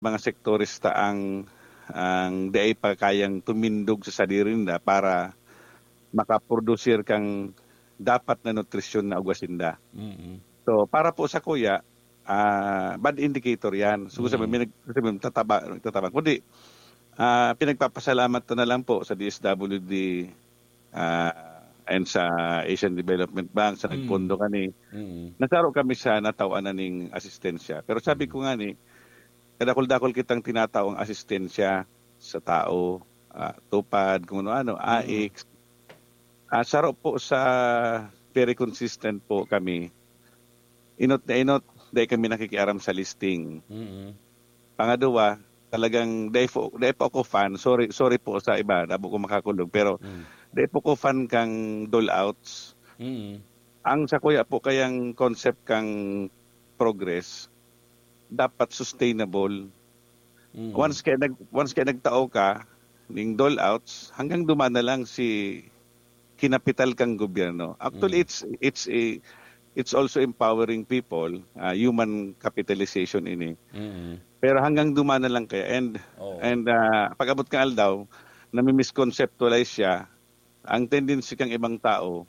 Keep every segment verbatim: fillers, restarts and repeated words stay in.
mga sektores ta ang, ang di ay pa kayang tumindog sa sadiri ninda para makaprodusir kang dapat na nutrisyon na ugwa sinda. Mm. So, para po sa kuya, ah, bad indicator yan. So, sabi, Mm. may nag-, sabi, tataba, tataba. Kundi, ah, pinagpapasalamat ko na lang po sa D S W D, ah, and sa Asian Development Bank, sa Mm. nagpondo kani, Mm. nasaro kami sa natawan na ning asistensya. Pero sabi Mm. ko nga ni, kadakol-dakol kitang tinatao ang asistensya sa tao, ah, tupad, kung ano-ano, Mm. AICS. Ah, saro po sa very consistent po kami. Inot na inot, dahil kami nakikiaram sa listing. Mm. Pangaduwa, talagang dahil po, dahil po ako fan, sorry, sorry po sa iba, dabo ko makakulog, pero Mm. dahil po ko fan kang dole outs. Mm. Ang sa kuya po kayang concept kang progress, dapat sustainable. Mm. Once kaya nag, once kaya nagtao ka ning dole outs, hanggang duman na lang si kinapital kang gobyerno. Actually, Mm. it's, it's a, it's also empowering people, ah, human capitalization ini. Mm. Pero hanggang duman na lang kaya. And, Oo. and ah, pag-abot kang aldaw, nami-misconceptualize siya, ang tendency kang ibang tao,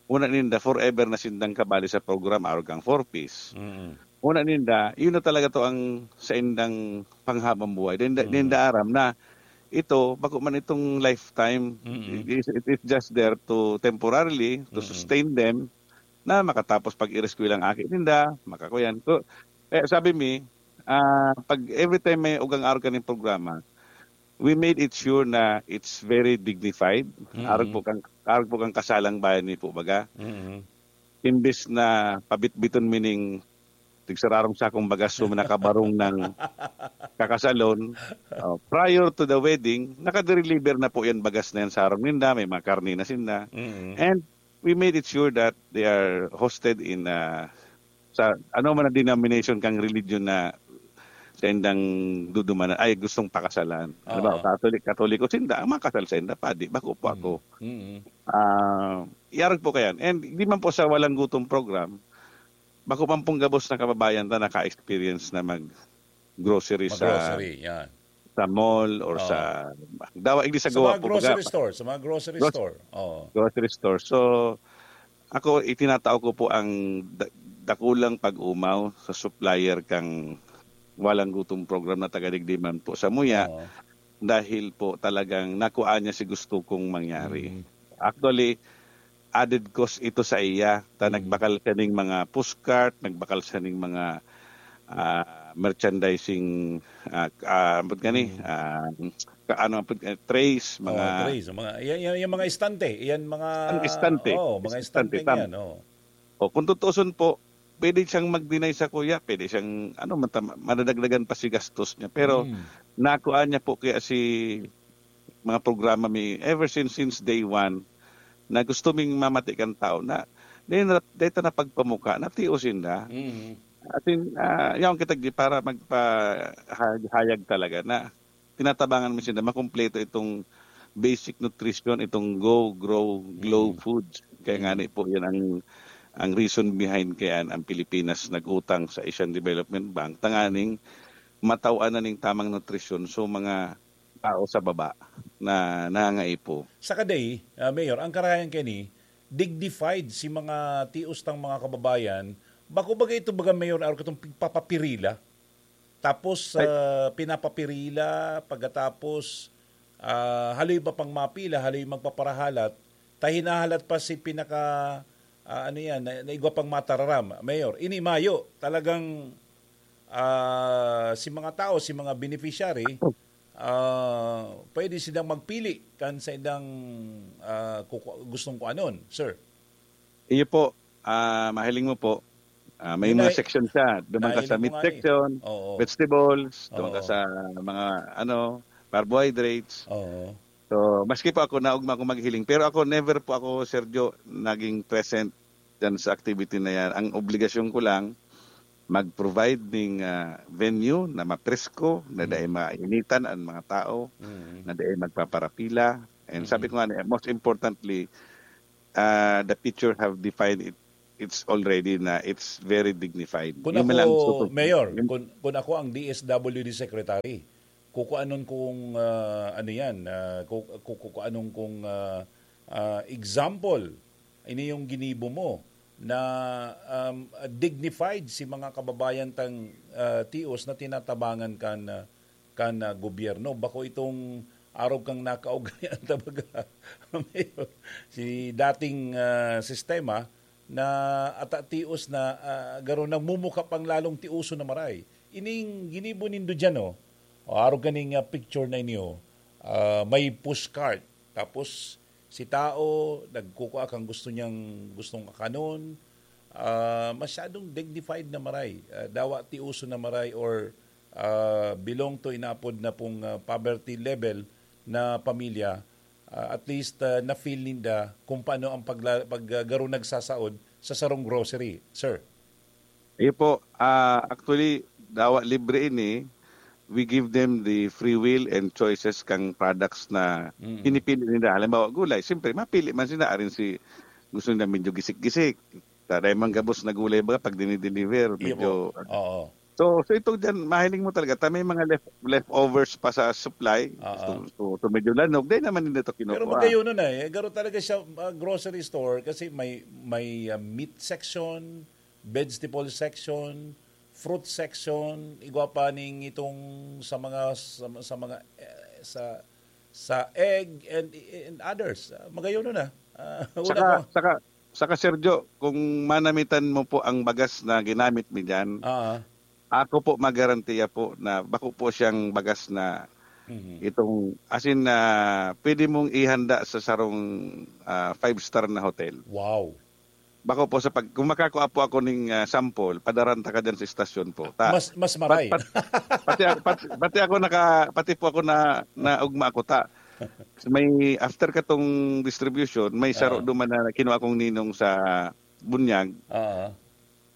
una ninda, forever na sindang kabali sa program, arog kang four Ps. Mm. Una ninda, yun na talaga to ang saindang panghabang buhay. Then, Mm. ninda aram na ito, bako man itong lifetime, Mm. it, it, it is just there to temporarily, to Mm. sustain them, na makatapos pag-ireskwela ang aki ninda, makakuyan. So, eh, sabi mi, ah, pag every time may ugang arog kaning programa, we made it sure na it's very dignified. Mm. Arog po kang, arog po kang kasalang bayan mi po baga. Mm. Imbes na pabitbiton mi ning tigsararong sakong bagas so nakabarong ng kakasalon. Oh, prior to the wedding, nakadeliver na po yan bagas na yan sa arong ninda, may mga karne na sinda. Mm. And we made it sure that they are hosted in, ah, sa ano man ang denomination kang religion na sa indang dudumanan, ay gustong pakasalan. Ano ba, Oo. Catholic, Katoliko sinda, ang makasal sa inda, padi, bako po ako. Mm. Ah, iarog po kayan. And di man po sa Walang Gutom program, bako man pong gabos na kababayan ta naka-experience na mag-grocery sa, Mag-grocery, yan. sa mall or Oo. sa, dawa, hindi sa Sa gawa mga po, grocery baga, store, sa mga grocery Gros- store. Oo. grocery store. So, ako, itinatao ko po ang da-, dakulang pag-umaw sa supplier kang Walang Gutom program na taga digdi man po sa Muya, Oo. dahil po talagang nakuha niya si gusto kong mangyari. Mm. Actually, added cost ito sa iya. Ta Mm. nagbakal siya ning mga pushcart, nagbakal siya ning mga, ah, merchandising, ah, ah, ambot gani, Mm. ah, ka-, ano, ambot, eh, trays, Oh, mga trays, mga, yan, yan, yung mga estante, yan mga, Ang estante. oh, mga Estante, estante tama. yan, oh. O, kung tutuusin po, pwede siyang mag-deny sa kuya, pwede siyang, ano, mata-, madadagdagan pa si gastos niya. Pero Mm. nakuha niya po kaya si mga programa mi ever since, since day one, na gusto ming mamati kan tao na dahil na, dahil ta napagpamuka, natios sinda. Mm. As in, ah, yaon kita di para magpahayag talaga na tinatabangan mi sinda makumpleto itong basic nutrition, itong Go, Grow, Glow Mm. Foods. Kaya nga Mm. ni po, yan ang, ang reason behind kaya ang Pilipinas nag-utang sa Asian Development Bank, tanganing matawan na ning tamang nutrisyon so mga tao sa baba na nangangaipo. Saka day, ah, Mayor, ang karayan kani, dignified si mga tios tang mga kababayan. Bako baga ito baga, Mayor, arog katong pigpapapirila. Tapos, Ay. ah, pinapapirila, pagkatapos, ah, haloy ba pang mapila, haloy magpaparahalat, ta hinahalat pa si pinaka, ah, ano yan, na, na igwa pang matararam. Mayor, ini mayo, talagang, ah, si mga tao, si mga beneficiary, ah, pwede silang magpili kan sa indang, ah, kuku-, gustong kuanon, sir. Iyo po, ah, mahiling mo po, ah, may Yun mga ay, section siya. Duman ka sa nahiling meat ko nga eh. Section, Oo. Vegetables, duman ka Oo. sa mga, ano, carbohydrates. Oo. So, maski po ako, naugma ako maghiling. Pero ako, never po ako, Sergio, naging present dyan sa activity na yan. Ang obligasyon ko lang, mag-provide ning, ah, venue na mapresko, na Mm. dai mainitan ang mga tao, Mm. na dai magpaparapila. And sabi Mm. ko nga, most importantly, ah, the future have defined it, it's already na it's very dignified. Kung Yun ako, lang, so, Mayor, yun- kung, kung ako ang D S W D Secretary, kukuanon kong, ah, ano yan, ah, ku- ku- kukuanon kong, ah, ah, example. Ini yung ginibo mo na, um, dignified si mga kababayan tang, ah, tios na tinatabangan kan, ah, kan, ah, gobyerno. Bako itong arog kang nakaugalian, tabaga, Mayor, si dating, ah, sistema na ata tios na, ah, garo nagmumuka pang lalong tioso na maray. Ining ginibo nindo dyan, oh. O, arog kaning, ah, picture na inyo, ah, may pushcart. Tapos, si tao, nagkukua kang gusto niyang, gustong akanon. Ah, masyadong dignified na maray. Ah, dawa tioso na maray or, ah, belong to inapod na pong, ah, poverty level na pamilya. Ah, at least, ah, na-feel ninda kung paano ang pagla- pag, ah, garo nagsasaod sa sarong grocery, sir. Iyo po, ah, actually, dawa libre ini. We give them the free will and choices kang products na Mm. pinipili nila. Halimbawa, gulay, siyempre, mapili man sila. Arin si gusto nila medyo gisik-gisik. Taray man gabos na gulay ba pag dinideliver, Iyo medyo po. Oo. So, so ito dyan, mahiling mo talaga, ta may mga left, leftovers pa sa supply. Oo. So, so, so medyo lanog, dahil naman hindi ito Pero kinukuha. Magayon na eh. Garo talaga siya, ah, grocery store kasi may may ah, meat section, vegetable section, fruit section, igwa pa ning itong sa mga sa, sa mga eh, sa sa egg and and others. Ah, Magayon na. Ah, una Saka, ko. saka, saka Sergio, kung manamitan mo po ang bagas na ginamit mi dyan, Ah, ako po magarantiya po na bako po siyang bagas na mhm. itong, as in, na pwede mong ihanda sa sarong ah, five-star na hotel. Wow. Bako po sa pag, kung makakua po ako ning ah, sample, padaranta ka dyan sa istasyon po. Ta, Mas mas maray. Pat- pat- pati, pati, pati ako naka pati po ako na naugma ako ta may after katong distribution may saro Oo. duman na kinuha kong ninong sa bunyag. Ah,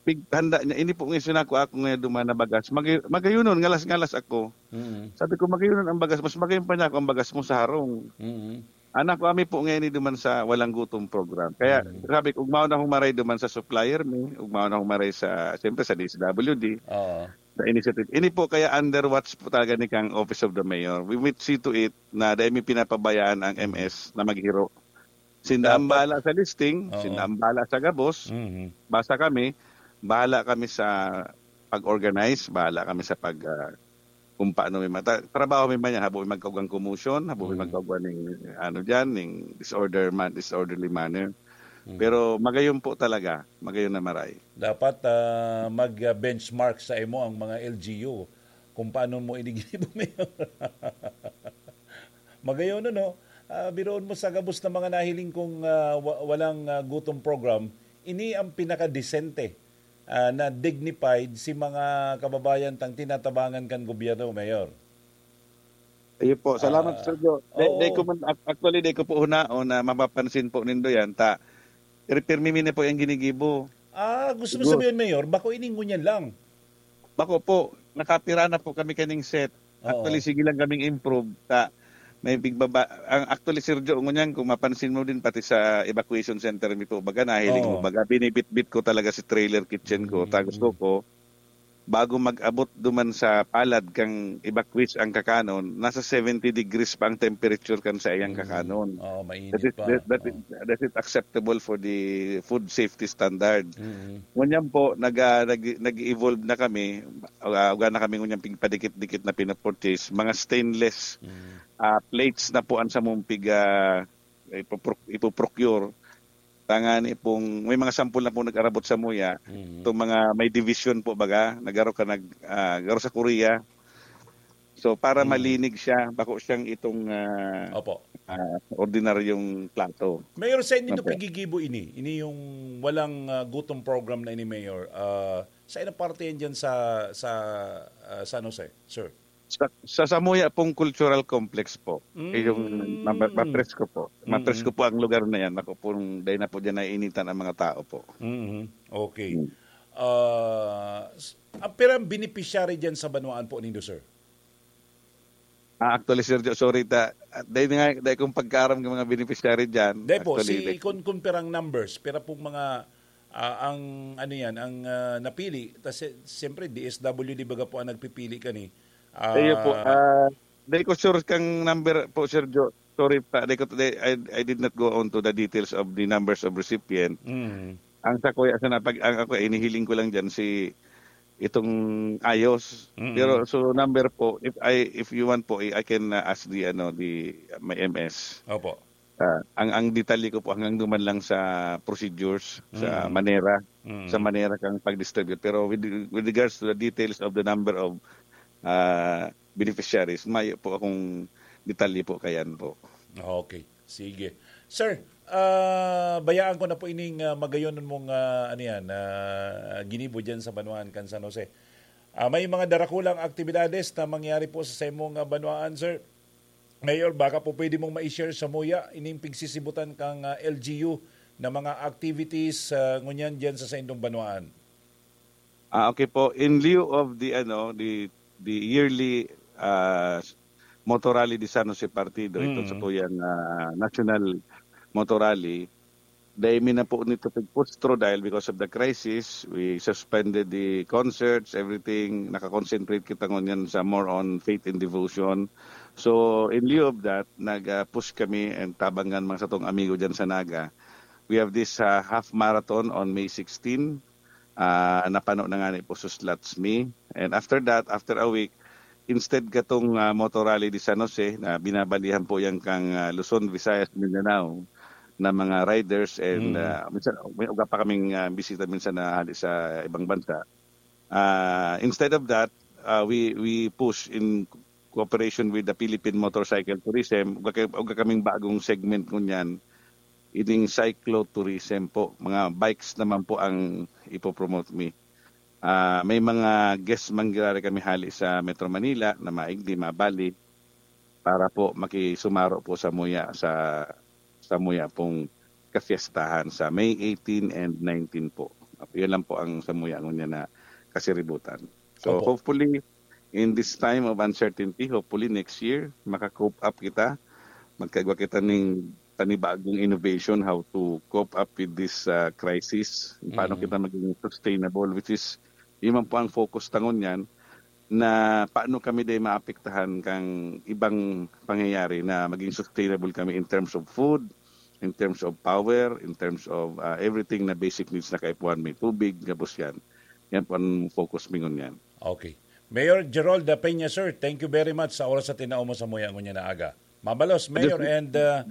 Pig handa niya, ini po nga sinako ako nga duman na bagas. Mag, magayunon, ngalas-ngalas ako. mm. Sabi ko, magayunon ang bagas. Mas magayon pa niya ako ang bagas mo sa harong. Mm. Anak ko, ami po ngayon duman sa Walang Gutom program. Kaya Mm. sabi ko, ugmaon akong maray duman sa supplier mi, ugmaon akong maray sa, siyempre sa D S W D, Oo. sa initiative. Ini po kaya under watch po talaga ni kang Office of the Mayor. We will see to it na dahil may pinapabayaan ang M S na maghiro. Sinda ang Dapat. Bahala sa listing, Oo. Sinda ang Bahala sa gabos, Mhm. Basta kami, bahala kami sa pag-organize, bahala kami sa pag ah, kung paano may mata trabaho mi man yan, habo mi magkaugwang commotion, habo mi Mm. magkaugwang ning ano diyan, ning disorder man, disorderly manner. Mm. Pero magayon po talaga, magayon na maray. Dapat ah, mag-benchmark sa imo ang mga L G U kung paano mo iniginibo, Mayor. Magayon, no? Ah, biroon mo sa gabos na mga nahiling kong ah, wa- walang ah, gutom program, ini ang pinakadesente ah, na dignified si mga kababayan tang tinatabangan kan gobyerno, Mayor. Ayun po, salamat Ah, Sergio. Dai, oo. dai ko man, ac- actually, dai ko po hunaon na mapapansin po nindo yan. Ta, pirmi mi na po yung ginigibo. Ah, gusto mo Good. Sabihin, Mayor, bako ini ngunyan lang. Bako po, nakapira na po kami kaning set. Oo. Actually, sige lang kaming improve. Ta, may bigbaba. Ang actually, Sergio, ngunyan, kung mapansin mo din, pati sa evacuation center mi po, baga, nahiling Oo. mo, baga, binibitbit ko talaga si trailer kitchen ko. Mm. Ta, gusto ko, bago mag-abot duman sa palad kang evacuees ang kakanon, nasa seventy degrees pa ang temperature kan sa iyang Mm. kakanon. Oo, mainit That is, pa. that, that, Oo. is, that is acceptable for the food safety standard. Mm. Ngunyan po, nag, ah, nag, nag-evolve na kami. Uh, uga na kami ngunyan pigpadikit-dikit na pinapurchase. Mga stainless Mm. ah, plates na po ang samong pig, ah, ipoproc- ipoprocure. Tangani pong, may mga sampol na po nag-arabot sa muya. Mm. Itong mga may division po baga, nagaro ka nag, ah, garo sa Korea. So, para Mm. malinig siya, bako siyang itong ah, Opo. ah, ordinaryong plato. Mayor, sa inyo Opo. pigigibo ini? Ini yung walang ah, gutom program na ini, Mayor. Ah, sa inang parte yan dyan sa, sa ah, San Jose, sir? Sa, sa Samuya pong cultural complex po. Mm. Yung ma- mapresko po. Mm. Mapresko po ang lugar na yan. Ako pong, dahil na po dyan naiinitan ang mga tao po. Mhm. Okay. Mm. Ah, s- ang pirang beneficiary dyan sa banwaan po nindo, sir? Ah, actually, Sergio, sorry ta. Dahil nga, dahil kong pagkaaram ng mga beneficiary dyan. Dahil po, Actually, si, like, kung, kung pirang numbers, pira pong mga Ah, ang ano yan, ang, ah, napili, tas si siyempre D S W D baga po ang nagpipili kani. Ah, Iyo po, ah, di ko sure kang number po, Sir Jo. Sorry pa, di ko, di, I, I did not go on to the details of the numbers of recipient. mm, Ang sa kuya, sa napag, ang ako, inihiling ko lang dyan si itong ayos. Mm. Pero so number po, if I, if you want po, I, I can uh, ask the, ano, the, uh, my M S. Opo. Ah, ang ang detalye ko po hanggang duman lang sa procedures sa Mm. manera Mm. sa manera kang pag-distribute, pero with with regards to the details of the number of ah, beneficiaries, mayo po akong detalye po kayan po. Okay. Sige. Sir, ah, bayaan ko na po ining, ah, magayon mong, ah, ano yan, ah, ginibo dyan sa Banwaan kan San Jose. Ah, may mga darakulang aktibidades na mangyari po sa saimong, ah, banwaan, sir. Mayor, baka po pwede mong ma-share sa muya ining pigsisibutan kang, ah, L G U na mga activities, ah, ngunyan dyan sa saindong banwaan. Ah, okay po. In lieu of the, ano, the the yearly ah, motor rally de San Jose Partido, ito Mm. sa tuyang ah, national motor rally, dahil mi na po nito pagpustro dahil because of the crisis, we suspended the concerts, everything. Nakakonsentrate kita ngunyan sa more on faith and devotion. So, in lieu of that, nag-push kami and tabangan mga satong amigo dyan sa Naga. We have this ah, half marathon on May sixteen. Ah, napano na nga ni po sa slots mi. And after that, after a week, instead katong ah, motor rally de San Jose na binabalihan po yan kang ah, Luzon, Visayas, Mindanao na mga riders and Mm. ah, minsan may uga pa kaming ah, bisita minsan na hali sa ibang bansa. Ah, instead of that, ah, we we push in cooperation with the Philippine Motorcycle Tourism, uga, kay- uga kaming bagong segment ngunyan, ining cyclotourism po. Mga bikes naman po ang ipopromote mi. Ah, may mga guests mangyari kami hali sa Metro Manila na maigdi, mabali, para po makisumaro po sa muya, sa, sa muya pong kafiestahan sa May eighteen and nineteen po. Yun lang po ang sa muya ngunyan na kasiributan. So Opo. hopefully, in this time of uncertainty, hopefully next year, maka-cope up kita. Magkagwa kita ning panibagong innovation how to cope up with this ah, crisis. Paano Mm. kita maging sustainable, which is, yun man po ang focus tangon yan, na paano kami day maapektahan kang ibang pangyayari na maging sustainable kami in terms of food, in terms of power, in terms of ah, everything na basic needs na kaipuhan, may tubig, gabos yan. Yan po ang focus mi ngunyan. Okay. Mayor Gerald Peña, sir, thank you very much sa oras sa tinao mo sa muya ngunyan na aga. Mabalos, Mayor, Just- and uh,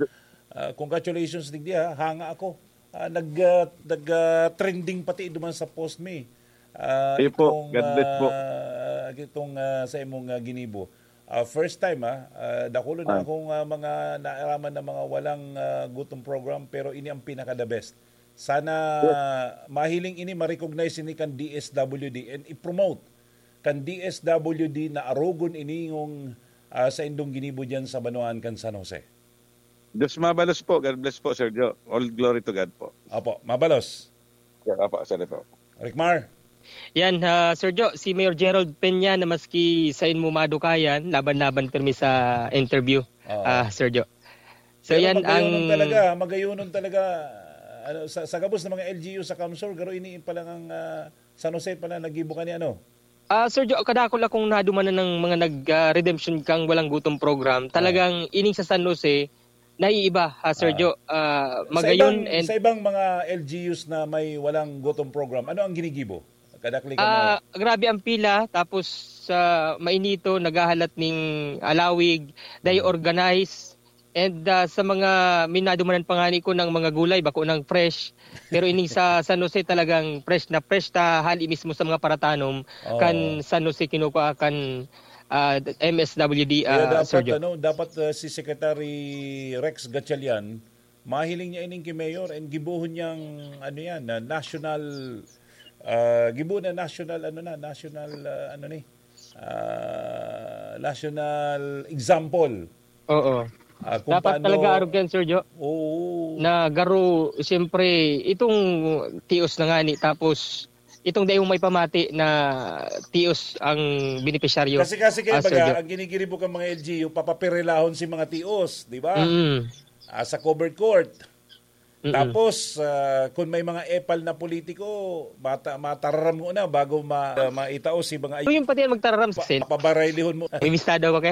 uh, congratulations digdi, ha. Hanga ako. Ah, nag, uh, nag, uh, trending pati duman sa post mi. Ah, Sige po. itong, God bless po. ah, itong ah, sa imong ah, ginibo. Ah, first time, ha. Ah, dakulo na Ah. akong ah, mga naaraman na mga walang ah, gutom program, pero ini ang pinaka the best. Sana mahiling ini, ma-recognize ini kan D S W D and i-promote kan D S W D na arogon ini yung ah, sa indong ginibo dyan sa Banwaan kan San Jose. Diyos mabalos po. God bless po, Sir Joe. All glory to God po. Opo, mabalos. Yeah, apo, sorry po. Ricmar. Yan, ah, Sir Joe, si Mayor Gerald Peña na maski sain mo madukayan, laban-laban pirmi sa interview, Oo. ah, Sir Joe. So Pero yan ang magayunon talaga, magayunon talaga. Ano, sa, sa gabos ng mga L G U sa Kamsur, garo ini pa lang ang ah, San Jose pala nagibo ka ni ano. Ah, Sir Joe, kadakol akong nadumanan ng mga nag-redemption kang walang gutom program. Talagang ining sa San Jose, naiiba, ha, Sir Ah. Joe. Ah, Sa magayon ibang, and sa ibang mga L G Us na may walang gutom program, ano ang ginigibo? Kadakli ka mo. Ah, grabe ang pila, tapos sa mainito, naghahalat ning alawig, dahil organized. And ah, sa mga minadumanan pa nga ni ko ng mga gulay, bako nang fresh. Pero ining sa San Jose talagang fresh na fresh ta, hali mismo sa mga paratanom Oo. kan San Jose kinukuha kan ah, M S W D, Kaya ah, Sir dapat, Joe. ano, dapat uh, si Secretary Rex Gatchalian, mahiling niya ining ki Mayor and gibohon niyang, ano yan, na national, uh, gibohon na national, ano na, national, uh, ano ni, uh, national example. Oo. Uh, kung Dapat paano, talaga arog yan, Sir Joe. Oo. Na garo, siyempre, itong tios na nga ni, tapos itong dahil may pamati na tios ang benepisyaryo. Kasi kasi kaya Ah, Sir baga, Joe. Ang ginigiribo kang mga L G U, papapirilahon si mga tios, di ba? Mm. Ah, sa covered court. Mm-mm. Tapos, ah, kung may mga epal na politiko, mata-, matararam mo na bago ma-, maitao si mga Kung yung pati yan magtararam sa pa-, Sen-, pabaray lihon mo. May mistado ako kaya.